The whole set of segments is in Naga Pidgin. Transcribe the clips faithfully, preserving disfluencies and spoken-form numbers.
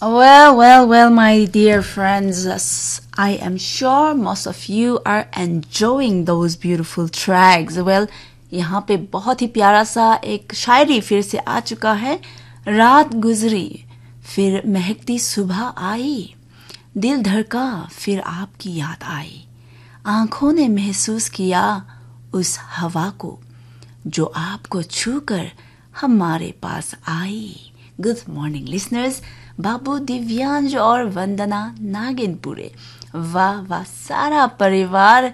Well, well, well, my dear friends, I am sure most of you are enjoying those beautiful tracks. Well, यहाँ पे बहुत ही प्यारा सा एक शायरी फिर से आ चुका है। रात गुजरी, फिर महकती सुबह आई, दिल धड़का, फिर आपकी याद आई, आंखों ने महसूस किया उस हवा को, जो आपको छूकर हमारे पास आई। Good morning, listeners. बाबू दिव्यांश और वंदना नागिनपुरे। वाह वाह, सारा परिवार।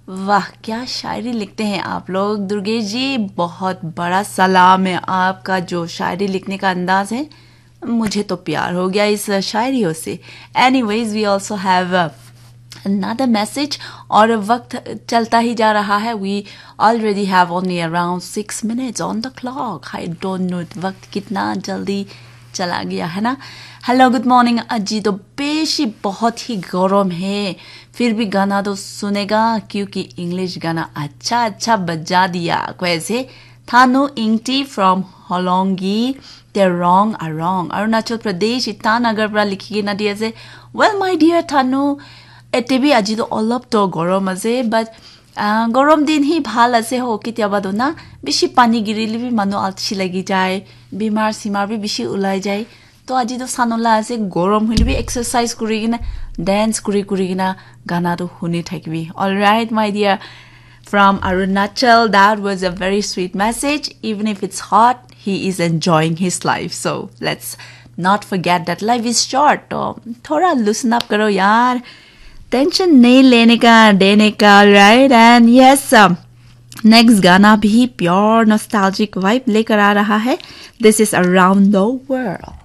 वाह, क्या शायरी लिखते हैं आप लोग। दुर्गेश जी, बहुत बड़ा सलाम है आपका, जो शायरी लिखने का अंदाज है। मुझे तो प्यार हो गया इस शायरियों से। Anyways, we also have another message. और वक्त चलता ही जा रहा है। We already have only around six minutes on the clock. I don't know वक्त कितना जल्दी चला गया है ना। Hello, good morning. আজি তো বেশি बहुत ही গরম है, फिर भी गाना तो सुनेगा क्योंकि इंग्लिश गाना अच्छा अच्छा बजा दिया। कैसे? Thanu Ingti from Holongi, Terong Arong, Arunachal Pradesh, Itanagar pra likhi kena di ase. Well, my dear Thanu, ete bi aji to olop to gorom ase, but uh, gorom din hi bhal ase ho, ketiaba to na bishi pani girile bi manu alsi lagi jai, bimar simar bi bishi ulai jai. To aji to sanola ase, gorom hoile bi exercise kuri kena, dance kuri kuri kena gana to huni thakibi. All right, my dear, from Arunachal, that was a very sweet message. Even if it's hot, he is enjoying his life. So let's not forget that life is short. To thoda loosen up karo yaar. Tension nahi lene ka, dene ka, all right? And yes, um, next gana bhi pure nostalgic vibe lekar aa raha hai. This is Around the World.